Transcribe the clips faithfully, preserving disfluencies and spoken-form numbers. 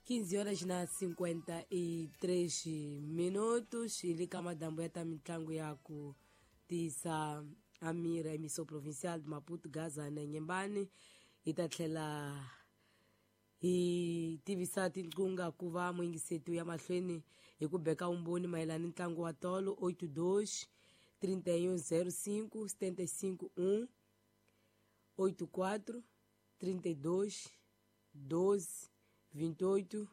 quinze horas na cinquenta e três minutos ili ka madambo ya ta mitlangu ya ku tisa Amira emissão provincial de Maputo, Gaza na Inhambane hi ta tlhela hi tivisa tinqunga ku va muyingiseti ya mahlweni hi ku beka vumbhoni mayelana ni ntlangu wa tolo oito dois trinta e um zero cinco setenta e cinco um oito quatro trinta e dois doze vinte e oito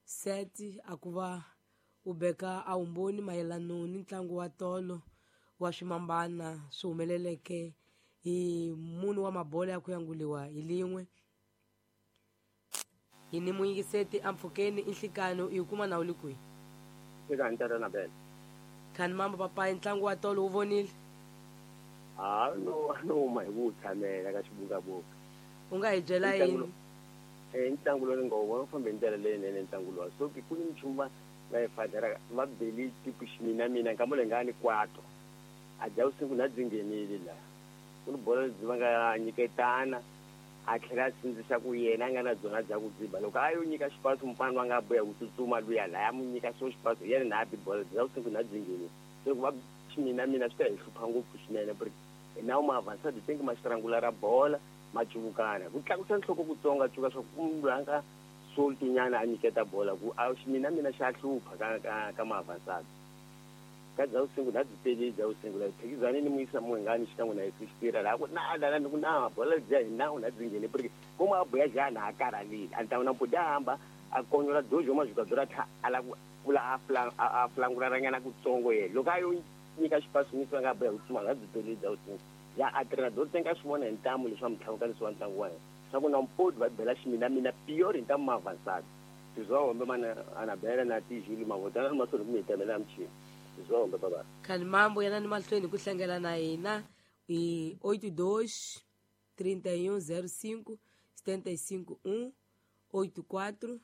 sete a ku va u beka a vumbhoni mayelana ni ntlangu wa tolo wa swimambana swi humeleleke hi munhu wa mabola ya ku yanguliwa hi lin'we hi ni muyingiseti ampfhukeni i nhlikano i kuma na u le kwihi eka ntata na bela khani mambo papayi ntlangu wa tolo wu vonile a no no huma hi ku tshamela ka xibukabuka u nga hi byela yini eh ntlangu lowu ni nga wu vona wu fambe hi ndlela leyinene ntlangu lowa so ku ni nchumu va va yi fadela va beli tiku ximina mina nkama leyi nga ni kwato a dya vusiku na byi nghenile laha ku ni bolo lebyi va nga nyiketana a tlhela a sindzisa ku yena a nga na byona bya ku dziba loko a yo nyika xipaso mufana wa nga boya ku tsutsuma luya laya mu nyika xo xipaso yena na bi bolo bya vusiku na byi nghenile se loko va ximina mina swi ta hi hlupha ngopfu swinene ku ri nawu ma avansa byi tengi ma xitrangula ra bola ma cuvukana ku tlakusa nhloko kutsongo cuka swa ku munhu loyi a nga soltunyana a nyiketa bola ku a ximina mina xa hlupha ka ka ka ma avansa ka bya vusiku na byi tele bya vusiku la phikizani ni muyisa muhingani xikan'we na yesu xitira laha ku na lana ni ku na bola bya hi nawu na byi nghene porque ko ma boya jana a karhalile a ni ta na mputi a hamba a konyola dojo ma juka dora tha ala ku pfula a fla a flanguraranyana kutsongo yena loko a yo nyika xipaso nyika nga boya ku tsuma na byi tele bya vusiku ya a treinador tem que swi vona hi ntamu leswi va mitlhavukanisi wa ntlangu wa yena swa ku na mpoti va bela ximina mina pior hi ntamu ma avançado sizwa mana anabela na tijulu mavotana mahlweni ku mi hi tamela michini sizwa baba khani mambo yana ni mahlweni ku hlangela na hina hi oito dois trinta e um zero cinco setenta e cinco um oito quatro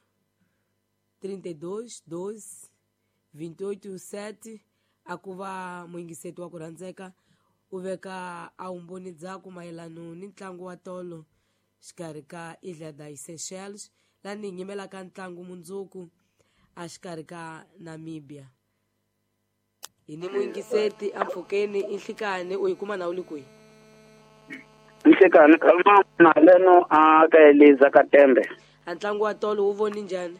trinta e dois doze vinte e oito sete a ku va muyingiseti wa ku rhandzeka u veka a vumbhoni dzaku mayelana ni ntlangu wa tolo xikarhi ka Ilha das Seychelles laha ni hi nyimelaka ntlangu mundzuku a xikarhi ka Namibia hi ni muyingiseti ampfhukeni i nhlikani u yi kuma na u le kwihi nhlikani khalma na leno a ka Eliza ka Tembe a ntlangu wa tolo wu voni njhani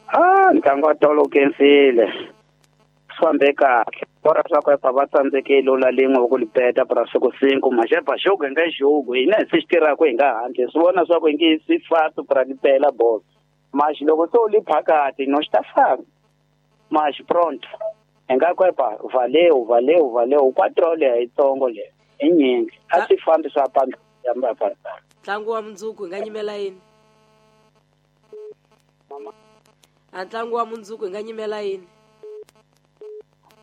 a ntlangu wa tolo wu kensile swi fambe kahle bora swa ku epa va tsandzekile u la lin'we ku lipeta pra siku cinco maxepa jogo hi nga jogo hina hi swi xi tirhaka hi nga handle swi vona swa ku hi nge swi fasi pra lipela bolo maxi loko se u li phakati no xi ta famba maxi pronto hi nga ku epa valeu valeu valeu quatro leya yitsongo leya i nyingi a swi fambi swa pamba ntlangu wa mundzuku hi nga nyimela yini a ntlangu wa mundzuku hi nga nyimela yini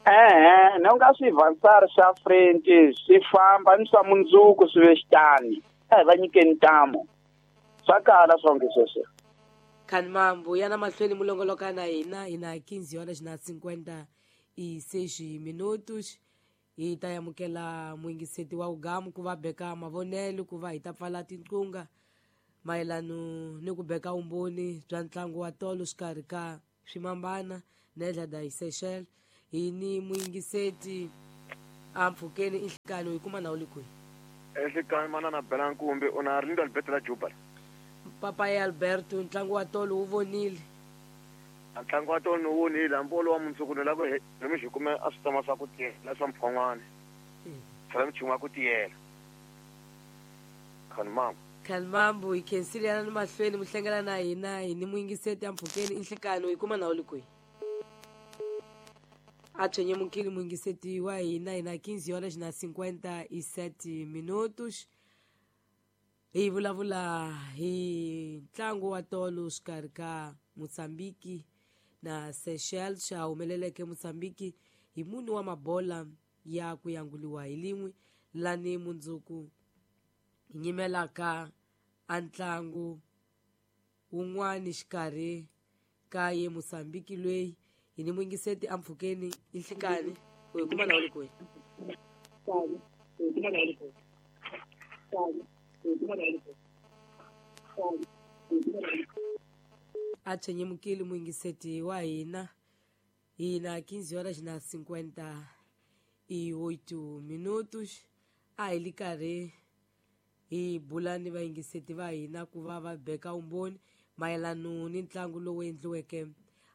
ehe ni nga swi vansari swa French swi famba ni swa mundzuku swi ve xitani a hi va nyikeni ntamu swa kala swonge sweswo khani mambo yana mahlweni mulongoloka na hina hi na quinze horas na cinquenta e seis minutos hi ta amukela muyingiseti wa ugamu ku va beka mavonelo ku va hi ta pfala tinqunga mayelana ni ku beka vumbhoni bya ntlangu wa tolo xikarhi ka swimambana na Ilha das Seychelles hi ni muyingiseti ampfhukeni i nhlikani u yi kuma na u le kwihi enhlikani manana bela nkumbi u na Arlindo Alberto la Juba papayi Alberto ntlangu wa tolo wu vonile ntlangu wa tolo wu vonile hambi wolowo wa mundzuku ni lava hi mi xi kume a swi tama swa ku tiyela swa mphon'wana tlhela michumu ya ku tiyela khani mambo khani mambo hi khensile yana ni mahlweni mu hlengela na hina hi ni muyingiseti ampfhukeni i nhlikani u yi kuma na u le kwihi a tshwenye mukhili muyingiseti wa hina hi na quinze horas na cinquenta e sete minutos hi vulavula hi ntlangu wa tolo xikarhi ka Mozambique na Seychelles xa humeleleke Mozambique hi mune wa mabola ya ku yanguliwa hi lin'we lani mundzuku hi nyimelaka a ntlangu wun'wani xikarhi ka ye Mozambique loyi hi ni muyingiseti ampfhukeni i nhlikani u yi kuma na u le kwihi A tshwenyemukile muyingiseti wa hina. Hina quinze horas na cinquenta e oito minutos. A hi li karhi hi bula ni vayingiseti va hina ku va va beka umbhoni mayelano ni ntlangu lowu endliweke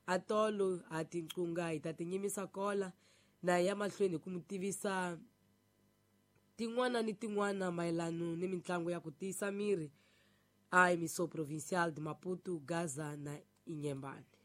atolo ha tinqunga hi ta tinyimisa kola na ya mahlweni hi ku mi tivisa tin'wana ni tin'wana mayelano ni mitlangu ya ku tiyisa miri a Emissão Provincial de Maputo, Gaza na Inhambane.